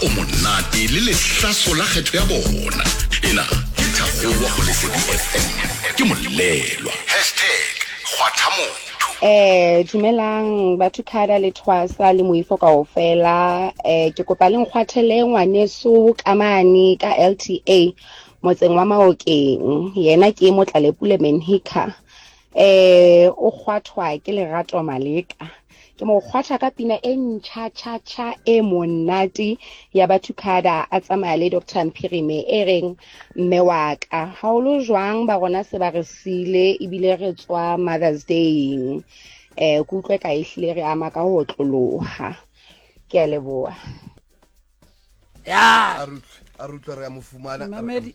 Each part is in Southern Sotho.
O monate le lehlaso la kgetho ya bona. Ena ke Thakgowa go Lesedi FM. Ke molelwa. Hashtag kgwatha motho. Eh dumelang batho khada le thwasa le moifo kaofela eh ke kopa le nkgwathele ngwaneso ka mane ka LTA motseng wa Maokeng yena ke Motlalepule Menhika eh o kgwathwa ke Lerato Maleka ke mo kgwatha ka pina e ntšha tšha tšha e monate ya Bathukhada a tsamaya le Dr Mphirime e reng mme wa ka haholo jwang ba rona se ba re sile ebile re tswa Mother's Day eh ke utlwe ka ehlile re ama ka ho otloloha ke a leboha. Ya. A re utlwe, a re utlwe re ya mo fumana. Mamedi.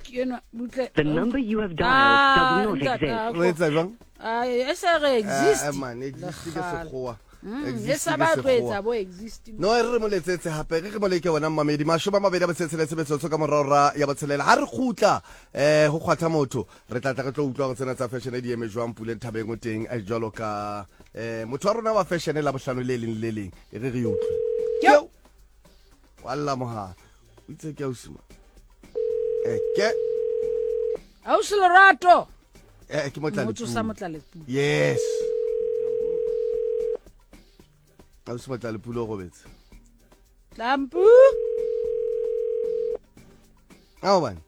Ke enwa butle. The number you have dialed does not exist. O etsa jwang? Ai, e se re exist. Eh, man, exist ke sekgowa. E Exist sa ke ba tlo sekgowa. etsa bo exist. No e re re mo letsetse hape re re mo leke wena mmamedi 27 metsotso ka morao ra ya botshelela ha re kgutla eh ho kgwatha motho re tla tla re tlo utlwa gore tsena tsa fashion di eme jwang Puleng Thabeng o teng eh, jwalo ka eh motho wa rona wa fashion la bohlano le leng le leng e re re utlwe Yo. Wa lla mogala o itse ke ausi ma eh ke Ausi Lerato. eh ke motla Motho sa Motlalepule. Yes, ausi Motlalepule o robetse. Tlampu. A bane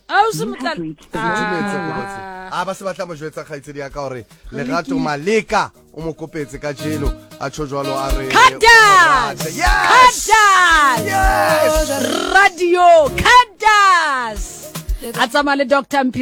Ausi Motla. Futhumetse go botse. A ba se batla mo jwetsa kgaitsedi ya ka gore Lerato Maleka o mo kopetse ka jeno a tsho jwalo a re Kadas. Yes! Kadas. Yes! Radio Kadas. A tsamaya le Dr. Mphiri.